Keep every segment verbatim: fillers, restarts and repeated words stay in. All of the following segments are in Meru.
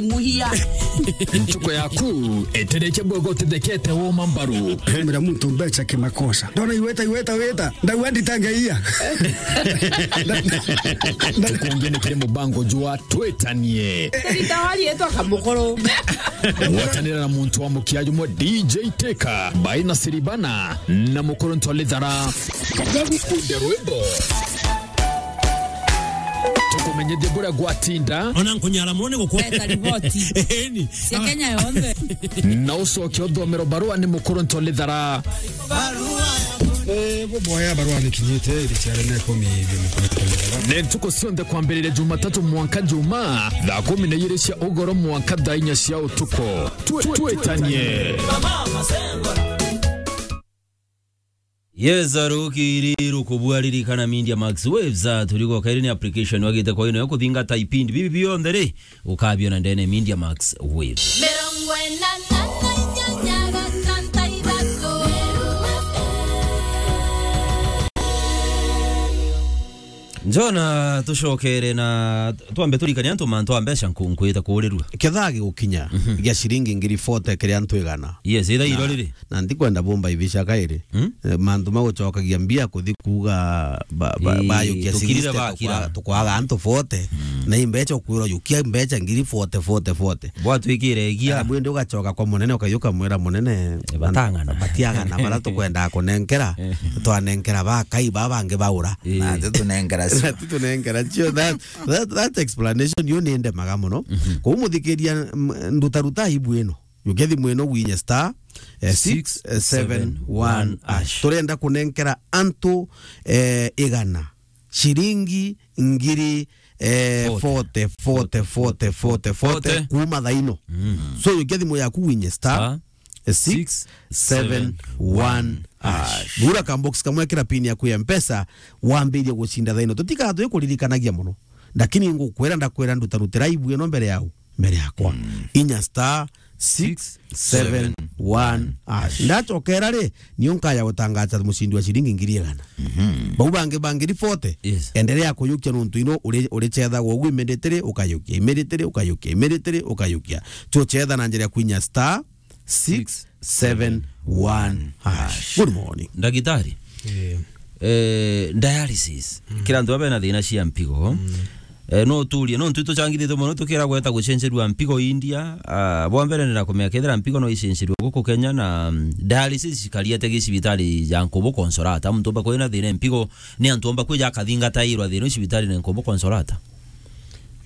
Muhia. Ntuko yaku eterekia bwega utithekete woma mbaru. Mira muntu mbecha kimakosa. Ndona iweta, iweta, weta. Ndauga nditangeia. Tukungi ni kiri mubango jwa twitanie. Ritawari etwa Kamukuru. Gwatanira na muntu wa mukia jumwe D J Teka, by Nasiribana na Mukuru Ntwalithara. Kagukunde rwimbo. Tukumenyithie buria gwatinda. Ona nkunyara mone gukwa. Leta riboti. Eni. Cia Kenya yonthe. Na ucoke uthomero barua ni Mukuru Ntwalithara. Eh, buboya barua ni kinyite iri ciare na ikumi ibiri Mukuru Ntwalithara. Ni ntuku cionthe kwambiriria Jumatatu mwanka Juma, thaa kumi na ijiri cia ugoro mwanka thaa inya cia utuku. Twi-, twitanie. Yes, arukiri rukubua ririkana Media Max Waves, ah, turigo kairi ni application wagite kwa ino ya kuthingata ipindi bibi bionthe ri, ukabiona ndene Media Max Waves. Mirongo ina na inyanya gatanta ithatu. Njona tucokere na twambe turikania antu mantu a mbeca nku-, nkwita kuurirua. Kethaa gigukinya Mhm. gia ciringi ngiri forty kiria antu igana. Yes, itha Na iro riri. Na ndikwenda bumba ibica kairi. Mm? Eh, mantu ma gucokagia mbia kuthi kuuga ba-, ba-, Ii, bayukia tukirire sixty, bakira. Tukwa-, tukwaga antu forty. Mm. Na imbecha ukwirwa yukia mbecha ngiri forty, forty, forty. Bwatwikire igia. Kana bwindi ugacoka kwa munene ukayuka mwira munene, Eh, batang'ana. Batiang'ana bara tukwendaa kunenkera, Eh. twanenkera bakai ba bangi baura. Ii. Na titunenkera cio. Na titunenkera cio. That, that, that explanation yo ni ndemaga muno. Mhm. Kou muthikiria, m-, ndutaruta aibu ino. Yukia thimu ino gwinye star, eh, six seven one hash. Turenda kunenkera antu, eh, igana, ciringi ngiri, eh, forty. Forty, forty, forty, forty, forty, forty. Kuuma thaino. Mm. So, yukia thimu yaku gwinye star, star, eh, six seven one hash. Gura ka box kamwe, kira pin yaku ya Mpesa, wambirie gucinda thaino. Tutikaa twi kuririkanagia muno. Lakini ngukwira, ndakwira, ndutarutira aibu ino mbere yau. Mbere yakwa. Mm. Inya star six seven one hash. Ndacokera ri, nio nkaya gutangaza mucindi wa ciringi ngiri igana. Mhm. Bau bangi ba ngiri forty, yes, endelea kuyukia nuntu ino uri, uri cethagwa ugu immediately ukayukia, immediately ukayukia, immediately ukayukia. Tucetha na njira ya kwinya star six seven one hash. Good morning. Ndagitari. Eh. Eh, dialysis. Mm. Kira antu babe na thina cia mpigo. Mm. Eh, no turie, no ntu tuchangithite muno tukira gweta gucenjerua mpigo India. Ah, bwa mbere ndira kumenya kethira mpigo no icenjerua guku Kenya na, mm, dialysis cikariete gi cibitari ya Nkubu Consolata. Muntu omba kwina thina mpigo ni antu omba kwija akathingatairwa thina cibitari na Nkubu Consolata.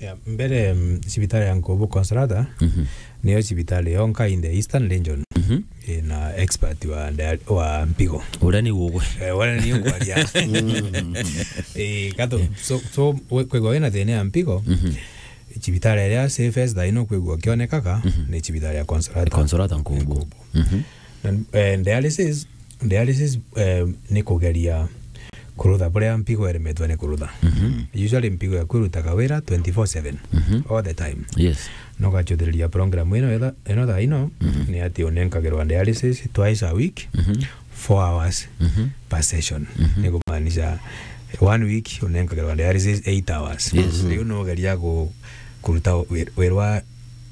Ya, mbere, mm, cibitari ya Nkubu Consolata, mhm, niyo cibitari yonka in the Eastern Region, mhm, ina expert wa dia-, wa mpigo. Uria ni ugwe. Eh, uria ni ngwaria. Mm. Eh, kato, so, so, we-, kwigua wina thina ya mpigo, mhm, cibitari iria safest thaa ino kwigua kionekaga, mhm, ni cibitari ya Consolata. Consolata Nkubu. Nkubu. Mhm. Na, eh, dialysis, dialysis, eh, ni kugeria kurutha buria mpigo iremetwe ni kurutha. Mhm. Usually mpigo yaku irutaga wira twenty-four seven, mhm, all the time. Yes. No gachuthiriria program ino etha-, ino thaa ino, mhm, ni ati unenkagirwa dialysis twice a week, mhm, four hours, mhm, per session. Mhm. Ni kumaanisha one week unenkagirwa dialysis eight hours. Yes. Riu no geria ku-, kuruta wi-, wira wa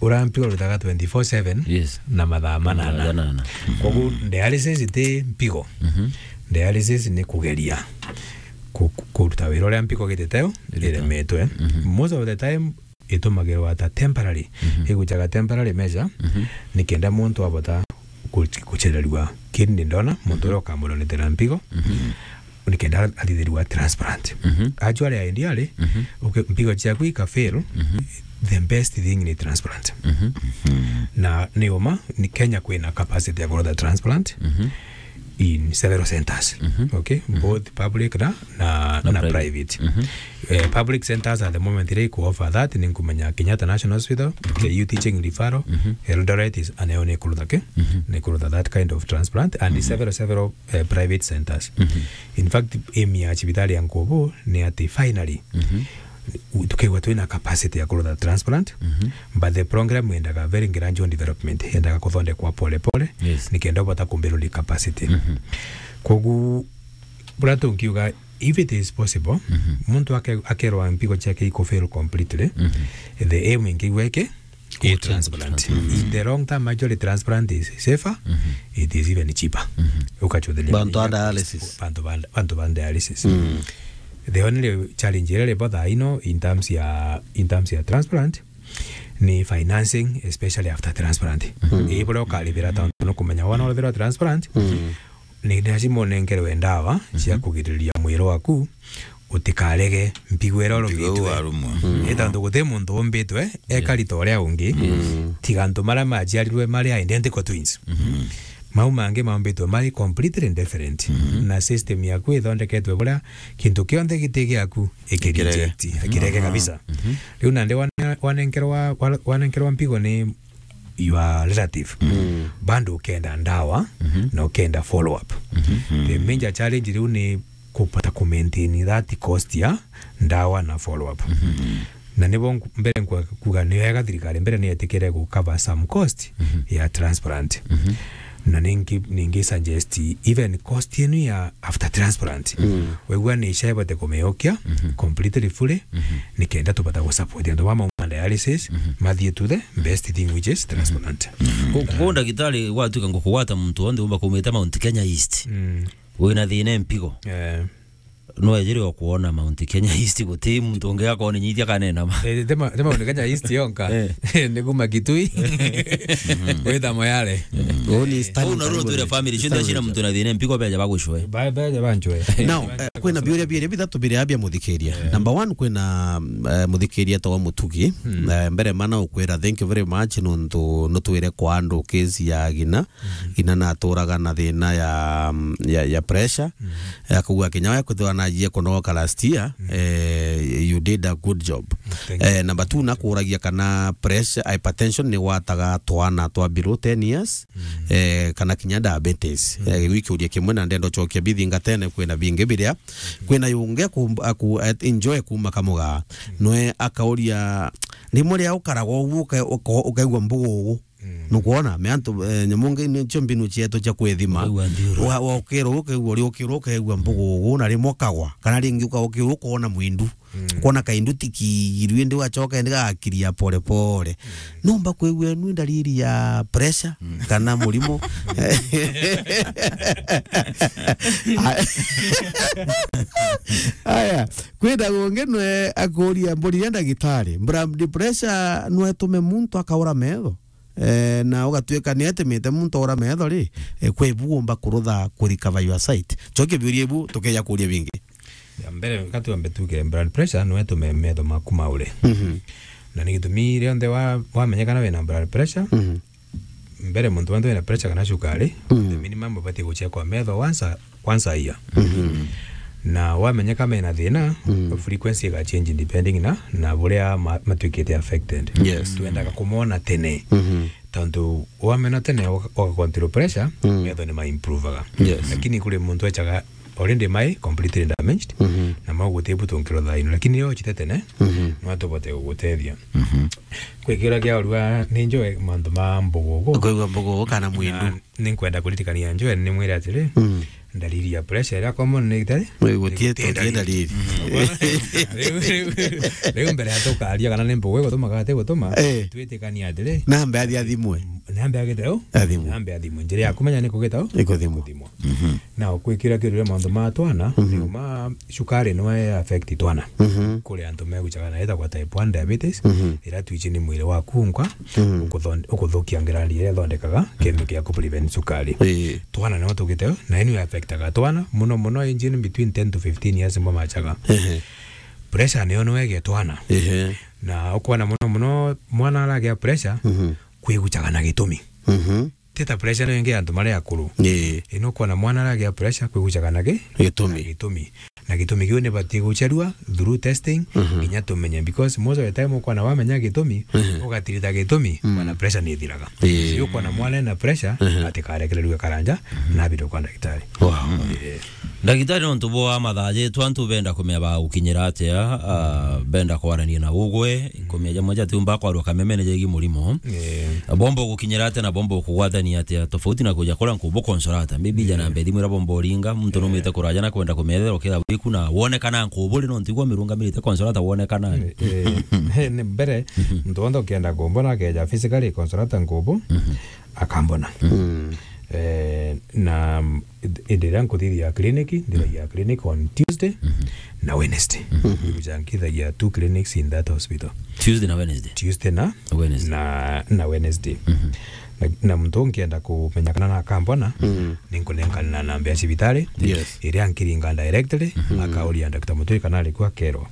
uria mpigo urutaga twenty-four seven, yes, na mathaa manana. Mathaa manana. Koguo dialysis ti mpigo. Mhm. Dialysis ni kugeria ku-, ku-, kuruta wira uria mpigo gititeo iremetwe. Mhm. Most of the time itumagirwa ta temporary. Mhm. Igucaga temporary measure, mhm, nikenda muntu abota ku-, kuchererua kidney donor, muntu, mhm, uria ukamudonetera mpigo. Mhm. Nikenda athithirua transplant. Mhm. Actually, ideally, mhm, uke-, mpigo ciaku ika fail, mhm, the best thing ni transplant. Mhm. Na ni uma, ni Kenya kwina capacity ya kurutha transplant, mhm, in several centers. Mhm. Okay? Mhm. Both public na, na, na, na private, private. Mhm. Eh, public centers at the moment, iri ku offer that, ni nkumenya Kenyatta National Hospital, mhm, K U Teaching Referral, mhm, Eldoret is, anayo ni kurutha ki? Mhm. Ni kurutha that kind of transplant, and, mhm, several, several eh, private centers. Mhm. In fact, aim ya cibitari ya Nkubu ni ati finally, mhm, u-, tukigwa twina capacity ya kurutha transplant, mhm, but the program yendaga very gradual development, yendaga kuthondekwa pole pole, yes, nikenda ubota kumbiruri capacity. Mhm. Kogu, buria tungiuga, if it is possible, mhm, muntu ake-, akerwa mpigo ciake iku fail completely, mhm, the aim ingigwa iki, i transplant. In the long term, actually, transplant is safer, it is even cheaper. Ukachuthiria bantu ba dialysis. Bantu ba, bantu ba dialysis. The only challenge iria ribo thaa ino in terms ya, in terms ya transplant ni financing, especially after transplant. Ii buria ukaribira, tontu nukumenya wona urithirwa transplant, ni lazima unenkerwe ndawa cia kugiriria mwiri waku utikarege mpigo iria urumite. Ni tontu guti muntu umbitwe ekari ta uria ungi, tiga antu maria maciarirwe mari identical twins. Mau mangi maumbitwe mari completely different. Na system yaku ithondeketwe buria kintu kionthe giti giaku ikireject, ikirege kabisa. Riu nandi wane-, wanenkerwa, wa-, wanenkerwa mpigo ni your relative, bado ukenda ndawa na ukenda follow up. The major challenge riu ni kupata ku maintain that cost ya ndawa na follow up. Na nibo nku-, mbere nkwa kuga ni wega thirikari mbere ni yetikire gu cover some cost ya transplant. Na ningi, ningi suggest even cost yenu ya after transplant. Wegua ni ica ibote kumiukia completely fully, nikenda tubata gu support antu ba mauma dialysis, mathie to the best thing, which is transplant. Ku-, ku-, ndagitari, gwatuika ngukugwata muntu wonthe umba kumite Mount Kenya East, wina thina mpigo, no ejire o kuona Mount Kenya East, guti muntu ungi akoninyithia kanena ma. Eh, tema, tema Mount Kenya East yonka. Ni kuma Kitui. Wita Moyale. Uni Stanley Karibu. Family cionthe cina muntu na thina mpigo beja bagucwe. Ba-, beja banchwe. Now, eh, kwina biuria biria bithatu biria bia muthikiria. Number one, kwina, eh, muthikiria etagwa Mutugi. Eh, mbere mana ukwira, thank you very much nontu nutwire kwa andu case ya Gina. Gina naturaga na thina ya, ya, ya pressure. Akauga kinya we kwithirwa najie kunogoka last year, eh, you did a good job. Thank you. Eh, number two, nakuragia kana pressure, hypertension ni gwataga twana twa below ten years, eh, kana kinya diabetes. Eh, gwikiuria kimwe na ndenda ucokia bithingatene, kwina bingi biria. Kwina yungi aku, aku, eh, enjoy kuma Kamuga. Nwe akauria, rimwe ria ukaragwa uguo uka-, uka-, ukaigua mbugugu. Nukwona, me antu, eh, nyamu ngi nicio mbinu cietu cia kwithima. Ukaigua nthiuru. Wa, wa ukirwo, ukaigua uri ukirwo, ukaigua mbugugu, na rimwe ukagwa. Kana ringi uka-, ukirwo ukona mwindu. Ukona kaindu ti kiigiru, indi ugacoka indi gakiria pole pole. Numba kwigua inu ndariri ya pressure kana murimo. Aya, kwina gungi nwe akuria mburi ya ndagitari. Blood pressure nwe tume muntu akaura metho. Eh, na ugatuika ni atimite muntu aura metho ri, eh, kwi bu umba kurutha ku recover your sight. Cokia biuria ibu, tukeja kuria bingi. Ya mbere, katuambe tuge blood pressure nwe tume metho maku maure. Na ni gitumi rionthe wa-, wamenyekana wina blood pressure, mbere muntu wenthe wina pressure kana cukari, the minimum ubatie guchekwa metho once a, once a year. Na wamenyeka mena thina, frequency iga change depending na, na buria ma-, matuikite affected. Yes. Twendaga kumona tene. Tontu wamena tene uga-, uga control pressure, metho ni ma improvaga. Yes. Lakini kuri muntu echaga already mai completely damaged, na mau guti bu tungirwa thaino. Lakini yo chite tene, no tubote gugutethia. Kwi kiria kia urua ni njoe mantu ma mbugugu. Ukaigua mbugugu kana mwindu. Na ni nkwenda kuririkania njoe ni mwire atiri, ndariri ya pressure iria common ni itari? Gutie, gutie ndariri. Riu, riu, riu mbere ya tukaria kana ni mbugugu igutuma kana ti gutuma, twitikania atiri. Nambe athi athimwe. Nambe agite u? Athimwe. Nambe athimwe. Njira ya kumenya ni kugita u? Ikuthimwa. Kuthimwa. Na ukwikira kiurire mantu ma twana, ni uma cukari no e affect twana. Kuri antu meguchaga na itagwa type one diabetes, ira twichi ni mwiri waku nkwa, ukuthon-, ukuthukia ngrandi iria ithondekaga kintu kia ku prevent cukari. Twana no tugite, na inu affectaga twana, muno muno aged between ten to fifteen years mbo machaga. Pressure niyo no ege twana. Na ukwona muno muno mwana aragia pressure, kwiguchaga na gitumi. Ti ta pressure no ingi ya antu mari akuru. Ii. Ino ukwona mwana aragia pressure kwiguchaga na gi-, gitumi. Na gitumi. Na gitumi kiu ni batie gucherua through testing, nginya tumenye, because most of the time ukwona wamenya gitumi, ugatirita gitumi, mwana pressure ni ithiraga. Ii. Riu ukwona mwana ena pressure, atikarekererue karanja, na abide kwa ndagitari. Wow. Ii. Ndagitari, nontu bwa mathaa jetu, antu benda kumenya bagukinyira atia, ah, benda kwarania na ugwe, nkumenya jamwe jatiumba kwarwa kamemene jegi murimo. Bomba gukinyira atia na bomba kugwatania atia, tofauti na kuja kura nkubu consolata. Maybe jana mbethi mwira bomba uringa, muntu numite kuraja na kwenda kumethera ukira wi kuna wonekana Nkubu ri, no ntigwa mirungamirite Consolata wonekana ri? Eh, eh, ni mbere, muntu wonthe ukienda kumbona akeja physically Consolata Nkubu, akambona. Eh, na, mm, indi riria nkuthithia clinic, nthithagia clinic on Tuesday na Wednesday. Nkuja nkithagia two clinics in that hospital. Tuesday na Wednesday? Tuesday na Wednesday. Na, na Wednesday. Na, na muntu ungienda kumenya kana nakambona, ninkunenkanira namba ya cibitari, yes, iria nkiringa directly, akauria Doctor Muturi kana ari ku akerwa.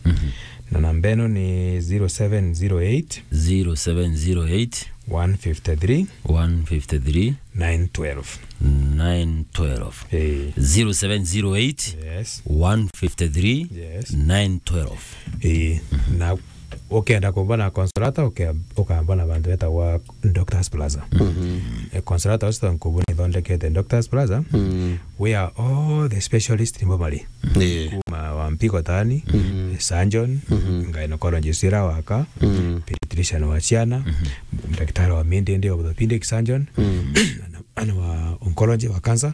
Na namba ino ni zero seven zero eight, zero seven zero eight, one fifty three, one fifty three, nine twelve. Nine twelve. Eh. Zero seven zero eight, yes, one fifty three, yes, nine twelve. Eh, na ukenda kumbona Consolata, uke-, ukambona bantu betagwa Doctors Plaza. Eh, Consolata Hospital Nkubu ni ithondekete Doctors Plaza, where all the specialists nimo bari. Eh. Kuma wa mpigo tani, surgeon, gynecologist ira waka, pediatrician wa ciana, daktari wa mindindi, orthopedic surgeon, ana, ana wa oncology, wa cancer,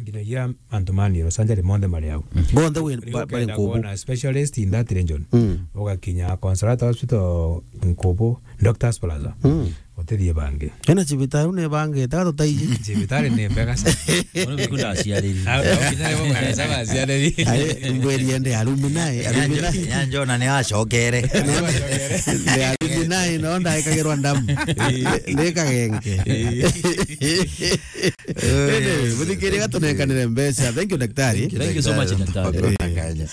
nginyagia antu ma neurosurgery monthe mari au. Bonthe wi-, riu ba-, bari ukenda Nkubu. Kuona specialist in that region, ugakinya Consolata Hospital Nkubu, Doctors Plaza. Utithie bangi. Ena cibitari ni bangi, ta tutaiji. Cibitari ni mbega sana. Ona biku ndaciariri. Ah, ukinya ni bo mwana saba aciariri. Ai, mbwiri ende alumni, alumni. Nyanjo na ni acokere. Ndi alumni, no ndaikagirwa ndamu. Ndi kagenge. Ende, muthikiri gatunenkanire mbeca. Thank you, daktari. Thank you so much, daktari.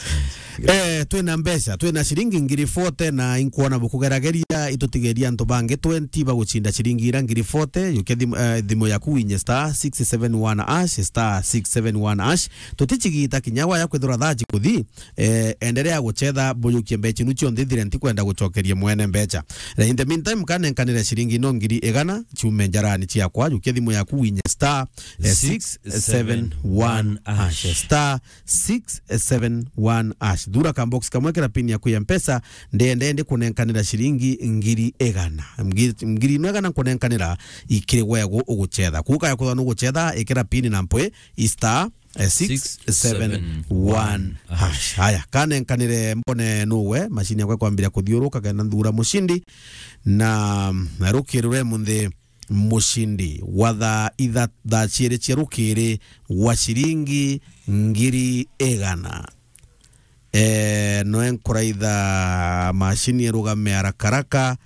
Eh, twina mbeca, twina ciringi ngiri forty, na inkwona bukugerageria, itutigeria antu bangi twenty bagucinda ciringi ira ngiri forty. Yukia thimu, eh, thimu yaku winye star six seven one hash, star six seven one hash. Tuticigita kinya waya kwithirwa thaa cikuthi, eh, enderea gucetha, buyukie mbeca inu cionthe ithire, ntikwenda gucokeria mwene mbeca. Eh, in the meantime, kanenkanire ciringi ino ngiri igana, ciume njarani ciakwa, yukia thimu yaku winye star, eh, six seven one hash, star six seven one hash. Thura ka box kamwe, kira pin yaku ya Mpesa, ndende ndikunenkanira ciringi ngiri igana. Ngiri, ngiri ino igana nkunenkanira ikiri gwegu ugucetha. Kuka ya kuthwa nugucetha, ikira pin na mpwi, i star, eh, six seven one hash. Haya, kanenkanire mbone nuwe, mashini yakwa ikwambira kuthiuruka, kenda nthura mucindi, na, na rukirure munthi mucindi wa thaa itha-, thaa ciiri cia rukiri wa ciringi ngiri igana. Eh, noe nkuraitha mashini irugame haraka haraka,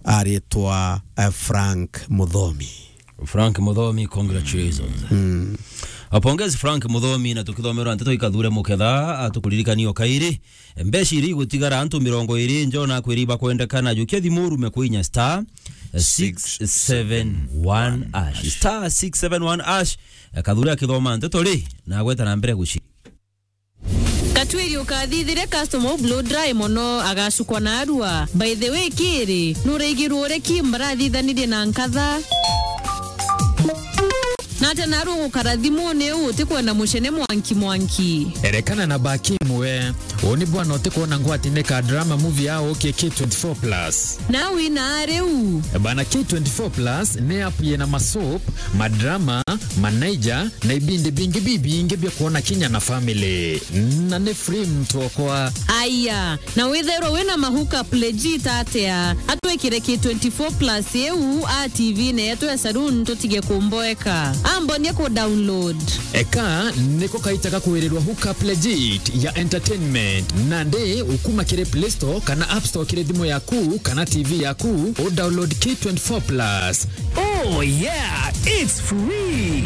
aritwa, eh, Frank Muthomi. Frank Muthomi, congratulations. Mm. Apongezi Frank Muthomi, na tukithomerwa nteto ikathure muketha, atukuririkanie o kairi. Mbeca iria igutigara antu mirongo iri, njona kwiri ibakwendekana, jukia thimu urume kwinya star six seven one hash. Star six seven one hash. Kathuri akithoma nteto ri, na agweta na mbere guci. Katwiri ukathithire customer u blow dry mono, agacukwa na arua. By the way, kiri, nuraigirwo ureki mbarathithanirie na nkatha? Nate naru ugukara thimuni u utikwenda mucene mwanki mwanki. Erekana na Bakim we. Uni bwana utikwona ngwatine ka drama movie ya uki K twenty-four plus. Na wina riu. Bana, K twenty-four plus ni app yina masoap, madrama, manaija, na ibindi bingi bibingi bia kwona kinya na family. Na ni free mtu okwa. Aya, na withairwa wina ma hookup legit atia? Atwikire K twenty-four plus iu a T V-ini yetu ya saloon, tutige kumboeka. Ambonie ku download. Eka niko kaita ga kwirirwa hookup legit ya entertainment. Nandi ukuma kiri Play Store kana App Store kiri thimu yaku kana T V yaku, u download K twenty-four plus. Oh yeah, it's free.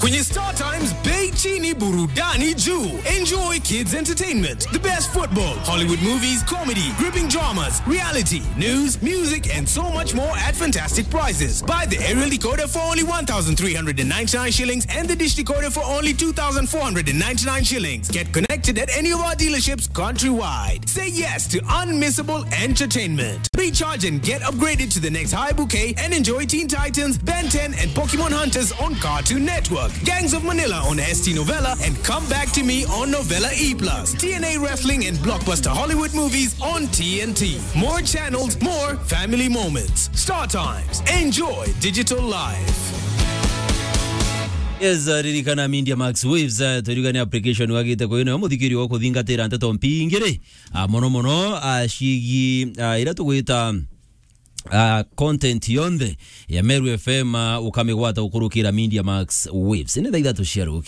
Kwenye Star Times, bei chini, burudani juu. Enjoy kids entertainment, the best football, Hollywood movies, comedy, gripping dramas, reality, news, music, and so much more at fantastic prices. Buy the aerial decoder for only one thousand three hundred and ninety-nine shillings and the dish decoder for only two thousand four hundred and ninety-nine shillings. Get connected at any of our dealerships countrywide. Say yes to unmissable entertainment. Recharge and get upgraded to the next high bouquet and enjoy Teen Titans, Ben ten, and Pokemon Hunters on Cartoon Network, Gangs of Manila on S T Novella, and Come Back to Me on Novella E plus, T N A Wrestling and blockbuster Hollywood movies on T N T. More channels, more family moments. Star Times. Enjoy digital life. Yes, uh, ririkana Media Max Waves, uh, twirigane application wagite kwi nayo muthikiri wa kuthingatira nteto mpingiri. Uh, mono mono, uh, ciigi, uh, ira tugwita, uh, content yonthe ya Meru F M, uh, ukamigwata ukurukira Media Max Waves. Ni thaa ithatu cia ruki.